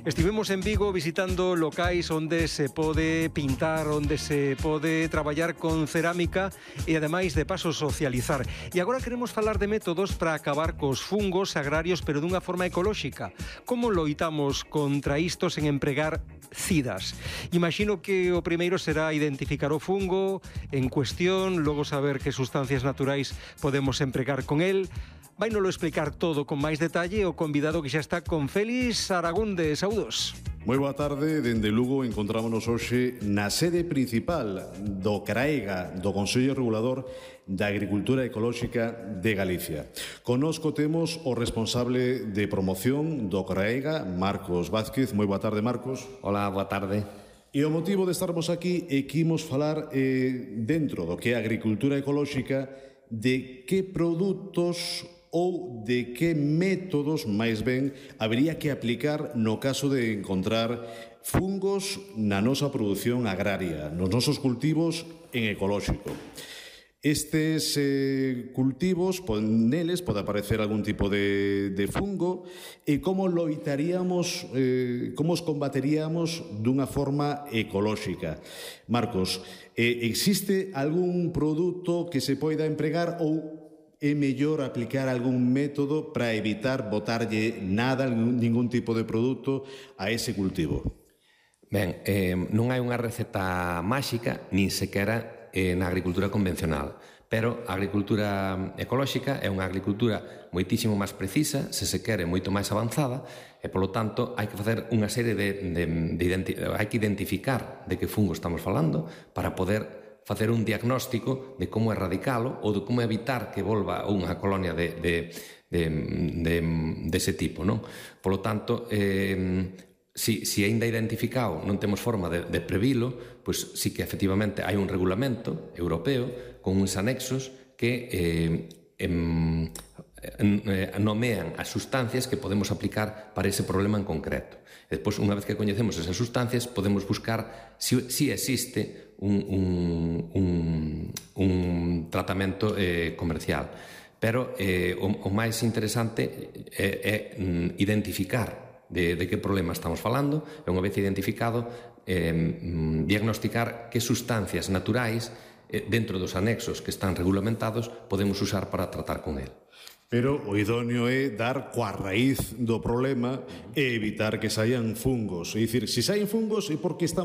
Estivemos en Vigo visitando locais onde se pode pintar, onde se pode traballar con cerámica e ademais de paso socializar. E agora queremos falar de métodos para acabar cos fungos agrarios pero dunha forma ecolóxica. Como loitamos contra isto sen empregar cidas? Imagino que o primeiro será identificar o fungo en cuestión, logo saber que sustancias naturais podemos empregar con el. Vainolo explicar todo con máis detalle o convidado que xa está con Félix Aragunde. Saúdos. Moi boa tarde, dende Lugo encontrámonos hoxe na sede principal do CRAEGA, do Consello Regulador da Agricultura Ecolóxica de Galicia. Connosco temos o responsable de promoción do CRAEGA, Marcos Vázquez. Moi boa tarde, Marcos. Hola, boa tarde. E o motivo de estarmos aquí é que imos falar dentro do que é a agricultura ecolóxica de que produtos ou de que métodos, máis ben, habería que aplicar no caso de encontrar fungos na nosa produción agraria, nos nosos cultivos en ecolóxico. Estes cultivos, neles pode aparecer algún tipo de fungo e como loitaríamos, como os combateríamos dunha forma ecolóxica. Marcos, existe algún produto que se poida empregar ou é mellor aplicar algún método para evitar botarlle nada, ningún tipo de produto a ese cultivo? Ben, non hai unha receta máxica, nin sequera na agricultura convencional, pero a agricultura ecolóxica é unha agricultura moitísimo máis precisa, se quere moito máis avanzada, e polo tanto hai que facer unha serie hai que identificar de que fungo estamos falando para poder facer un diagnóstico de como erradicalo ou de como evitar que volva unha colonia dese tipo, non? Polo tanto, se aínda identificado non temos forma de previlo, pois sí que efectivamente hai un regulamento europeo con uns anexos que nomean as sustancias que podemos aplicar para ese problema en concreto. E despois, unha vez que coñecemos esas sustancias, podemos buscar si existe un tratamento comercial. Pero o máis interesante é identificar de que problema estamos falando, e unha vez identificado, diagnosticar que sustancias naturais dentro dos anexos que están regulamentados podemos usar para tratar con el. Pero o idóneo é dar coa raíz do problema e evitar que saian fungos. É dicir, se saen fungos é porque están